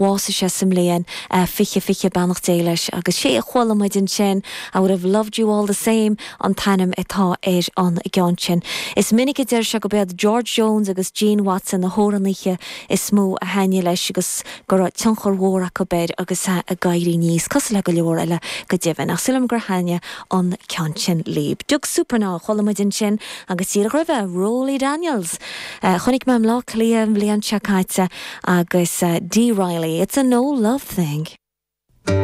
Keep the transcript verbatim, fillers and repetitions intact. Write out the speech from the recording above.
Bhásaigh sé sa mbliain fiche fiche beannacht Dé leis agus sé a chuala muid ansin I would have loved you all the same an t-ainm atá ar an gceann sin. Is minic a deir sé gurb iad George Jones agus Gene Watson na hamhránaithe is mó a thaitnigh leis agus go raibh tionchar mór acu air agus é ag éirí aníos cosúil le go leor eile go deimhin ach sílim gur thaitnigh an ceann sin libh. Doug Supernaw chuala muid ansin agus díreach roimhe Rowley Daniels. Uh, Chonaic mé i mBleá Cliath an bhliain seo caite agus uh, Dee Riley. It's a no love thing.